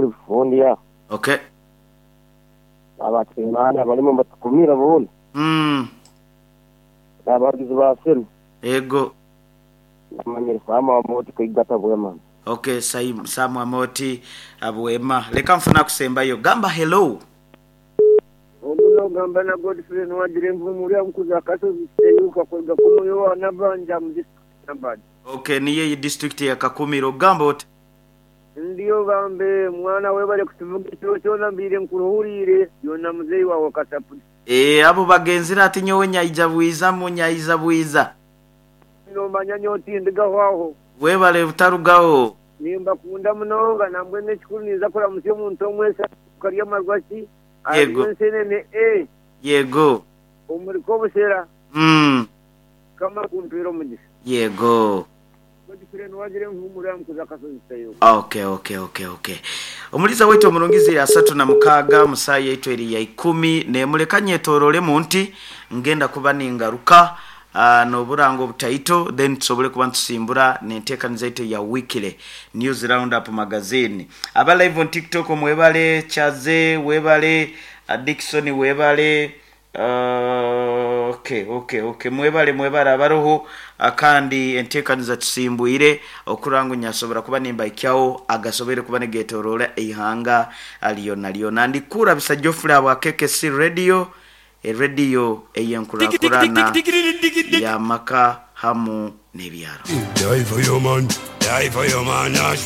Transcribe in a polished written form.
Paul Bufundya. Okay. N'abakyemaani abarimu nibatukumira boona. N'abahagizi ba Arsenal. Yego. Namanyire Sam Amooti Kaigata Bwema. Ok Sam Amooti Bwema. Leka nfune akusembayo. Gamba hello. Ogu nogamba na Godfrey Nuwagira Envumuri amukuza Kasozi Kiteyuka kuruga kunu owa Nabanja omu disiturikiti ya Nabanja. Ok niyo eyi disiturikiti ya Kakumiro. Gamba ota? Ndiyo bambe mwana webale kutuvuga ekiro kyona mbaire nkuruhuriire byona muzeyi wawe Kasapuli. Eeh abo bagenzire ati nyowe nyaija bwiza mu nyaija bwiza. Nomanya nyowe tindigaho aho. Webale butarugaho. Nimbakunda munonga nambwenu ekikuru ninza kuramutsya omuntu omwe Esanduuka ry'amarwa ki ahari Yego. Ensenene A Yego. omuri Kobushera. Mukama akumpeere omugisha. Yego. Godfrey Nuwagira Envumuro ya Mukuza Kasozi Kitayoka. Ok ok ok ok. Omuliza waitu omurungi ziri 36 mu saaha yaitu eri ya ikumi n'emu. Leka nyetoororemu nti ngenda kuba ningaruka n'oburango obutaito then tusobole kuba nitusimbura n'enteekaniza yaitu eya Weekly News Roundup Magazine. Aba live on TikTok mwebale, Kyaze webale, Dickson webale, Ok ok ok mwebale mwebale abaroho kandi entekaniza tusimbwire okurora ngu nyasobora kuba nimbahikyagho agasoboire kuba nigetoroora eihanga lyonalyona. Ndi Kurabisa Geoffrey ahabwa KKC Radio, erediyo ey'enkurakurana y'amaka hamu n'ebyaro. Die for your man, die for your man, Ash.